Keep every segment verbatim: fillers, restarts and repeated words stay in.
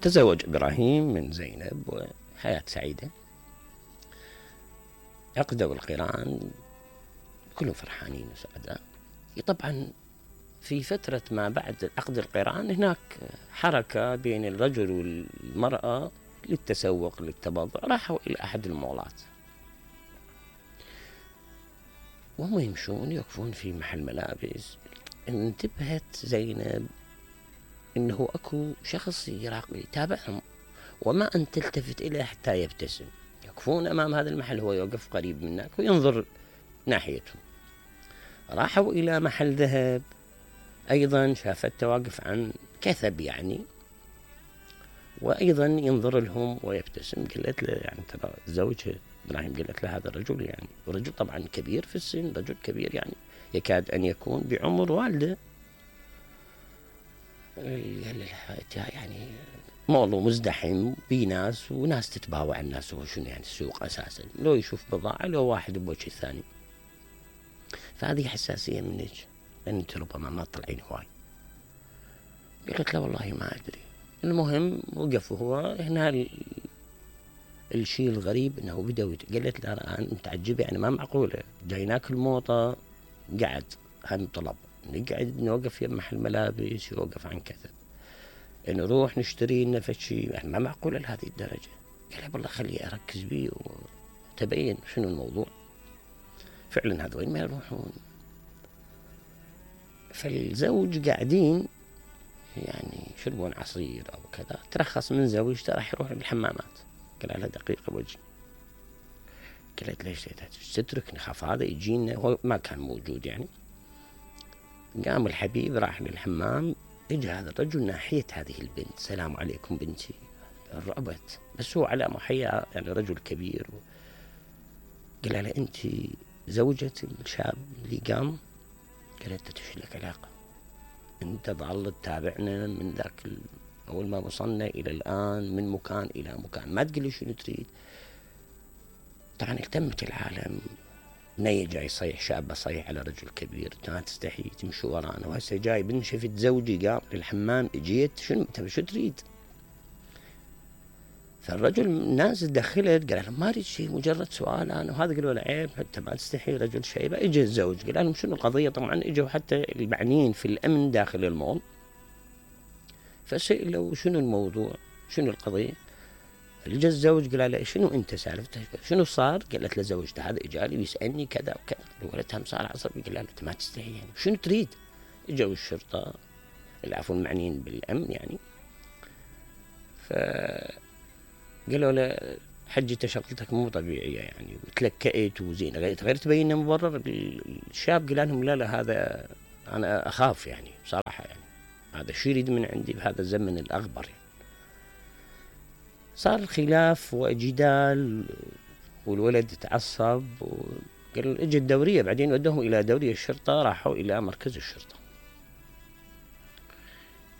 تزوج إبراهيم من زينب وحياة سعيدة. عقدوا القران كلهم فرحانين وسعداء. طبعا في فترة ما بعد عقد القران هناك حركة بين الرجل والمرأة للتسوق للتبضع، راحوا إلى أحد المولات وهم يمشون يوقفون في محل ملابس، انتبهت زينب إنه أكو شخص يراقب يتابعهم وما أن تلتفت إليه حتى يبتسم. يوقفون أمام هذا المحل، هو يوقف قريب منك وينظر ناحيتهم. راحوا إلى محل ذهب أيضا، شافته واقف عن كثب يعني، وأيضا ينظر لهم ويبتسم. قالت له يعني ترى زوجها إبراهيم، قالت له هذا الرجل يعني رجل طبعا كبير في السن، رجل كبير يعني يكاد أن يكون بعمر والده. قال لها يعني مولو مزدحم بناس وناس تتباوع الناس، هو شنو يعني السوق أساسا، لو يشوف بضاعة لو واحد بوجه الثاني. فهذه حساسية منك لأن أنت ربما ما تطلعين هواي. قالت له والله ما أدري. المهم وقف هو هنا ال... الشيء الغريب انه بدأوا يت... قالت له انا متعجبه يعني ما معقوله، جاي ناكل موطه قعد هم طلب نقعد نوقف يم محل ملابس يوقف عن كذا، نروح نشتري لنا شيء يعني ما معقوله لهذه الدرجه. قال والله خلي اركز بيه وتبين شنو الموضوع. فعلا هذول ما يروحون. فالزوج قاعدين يعني يشربون عصير او كذا، ترخص من زوجته راح يروح بالحمامات. قال لها دقيقة وجهي. قالت ليش تتركني خاف هذا يجينا، هو ما كان موجود يعني. قام الحبيب راح للحمام، اجى هذا الرجل ناحية هذه البنت، السلام عليكم بنتي. رعبت، بس هو على محيا يعني رجل كبير. قال لها انت زوجة الشاب اللي قام؟ قالت ايش لك علاقة؟ انت ظل تتابعنا من ذاك ال... أول ما وصلنا إلى الآن من مكان إلى مكان، ما تقول لي شنو تريد. طبعا التمت العالم، بنية جاي يصيح، شاب صيح على رجل كبير، ما تستحي تمشي ورانا، وهسه جاي بنت شفت زوجي قام للحمام اجيت، شنو انت شو تريد؟ فالرجل الناس دخلت قال لهم ما اريد شيء مجرد سؤال انا، وهذا قالوا له عيب حتى ما تستحي رجل شيبه. اجى الزوج قال لهم شنو القضيه، طبعا اجوا حتى المعنيين في الامن داخل المول فسألوا شنو الموضوع شنو القضية. اجى الزوج قال له شنو انت سالفته شنو صار؟ قالت له زوجته هذا اجاني بيسالني كذا وكذا. الولد هم صار عصبي قال له انت ما تستحي يعني شنو تريد؟ اجوا الشرطة العفو المعنيين بالامن يعني، ف قالوا له حجته شغلتك مو طبيعية يعني وتلكأت وزين غير تبين مبرر. الشاب قال لهم لا لا هذا انا اخاف يعني بصراحة يعني هذا شو يريد من عندي بهذا الزمن الأغبر يعني. صار خلاف وجدال والولد تعصب وقال اجى الدورية، بعدين ودوهم إلى دورية الشرطة، راحوا إلى مركز الشرطة.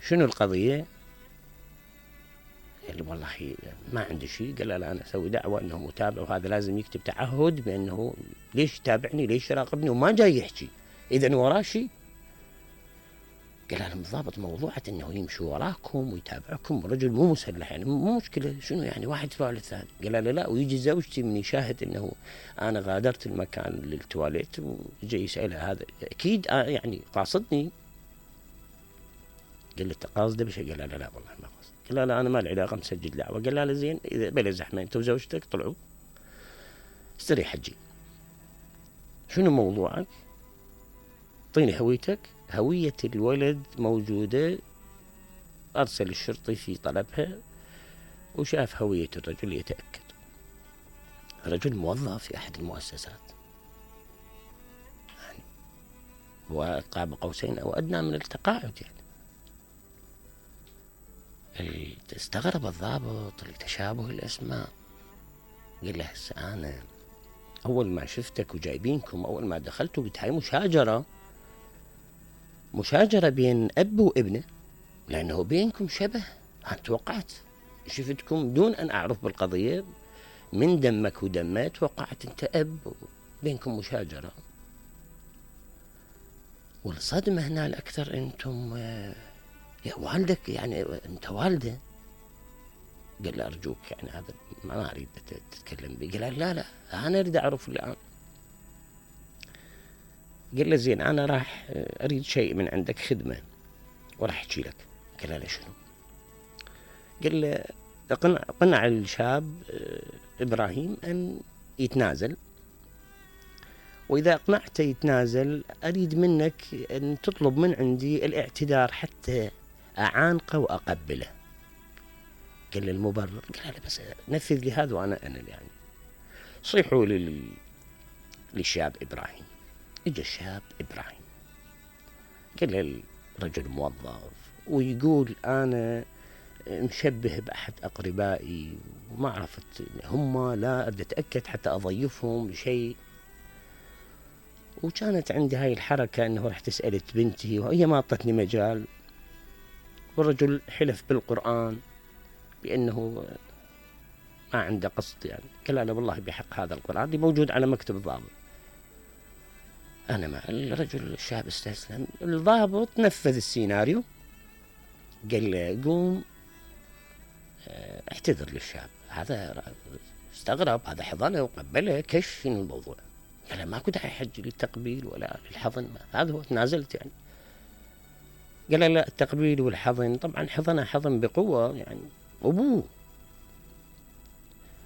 شنو القضية؟ قال والله ما عندي شيء. قال لا أنا أسوي دعوة أنه متابع وهذا لازم يكتب تعهد بأنه ليش يتابعني ليش يراقبني وما جاي يحكي إذا وراه شيء. قال لهم بالضبط موضوعة انه يمشي وراكم ويتابعكم رجل مو مسلح يعني مو مشكلة، شنو يعني واحد يروح للثاني. قال لا لا ويجي زوجتي من يشاهد انه انا غادرت المكان للتواليت وجاي يسألها هذا اكيد يعني قاصدني. قال له قاصده بشيء؟ قال لا لا والله ما قاصد. قال لا لا انا ما لي علاقة مسجل دعوة. قال لا لا زين اذا بلا زحمة انت وزوجتك طلعوا استريح حجي، شنو موضوعك؟ اعطيني هويتك. هوية الولد موجودة، أرسل الشرطي في طلبها وشاف هوية الرجل يتأكد. رجل موظف في أحد المؤسسات يعني وقاب قوسين أو أدنى من التقاعد يعني. استغرب الضابط لتشابه الأسماء. قال له هسه أنا أول ما شفتك وجايبينكم أول ما دخلتوا قلت هاي مشاجرة مشاجرة بين أب وابنه لأنه بينكم شبه. أنا توقعت شفتكم دون أن أعرف بالقضية من دمك ودمي توقعت أنت أب بينكم مشاجرة. والصدمة هنا الأكثر أنتم يا والدك يعني أنت والده قال له أرجوك يعني هذا ما أريد تتكلم به. قال لا لا أنا أريد أعرف الآن. قال له زين أنا راح أريد شيء من عندك خدمة وراح أحكي لك. قال له شنو؟ قال له اقنع, اقنع الشاب إبراهيم أن يتنازل، وإذا أقنعته يتنازل أريد منك أن تطلب من عندي الاعتذار حتى أعانقه وأقبله. قال له المبرر؟ قال له بس نفذ لي هذا وأنا أنا يعني. صيحوا لل... للشاب إبراهيم. إجا الشاب إبراهيم قال له الرجل موظف ويقول أنا مشبه بأحد أقربائي وما عرفت هم، لا أريد أتأكد حتى أضيفهم بشيء، وكانت عندي هاي الحركة أنه رحت سألت بنتي وهي ما أعطتني مجال، والرجل حلف بالقرآن بأنه ما عنده قصد يعني. قال له والله بحق هذا القرآن اللي موجود على مكتب الضابط. أنا ما الرجل الشاب استسلم. الضابط نفذ السيناريو، قال له قوم اعتذر للشاب. هذا استغرب، هذا حضنه وقبله كش من الموضوع. قال ما كنت أحج للتقبيل ولا للحضن، هذا هو تنازلت يعني. قال لا التقبيل والحضن طبعا حضنه حضن بقوة يعني أبوه.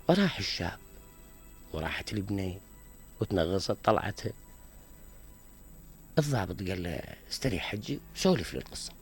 وراح الشاب وراحت البنية وتنغصت طلعتها. الضابط قال له استريح حجي سولف لي القصة.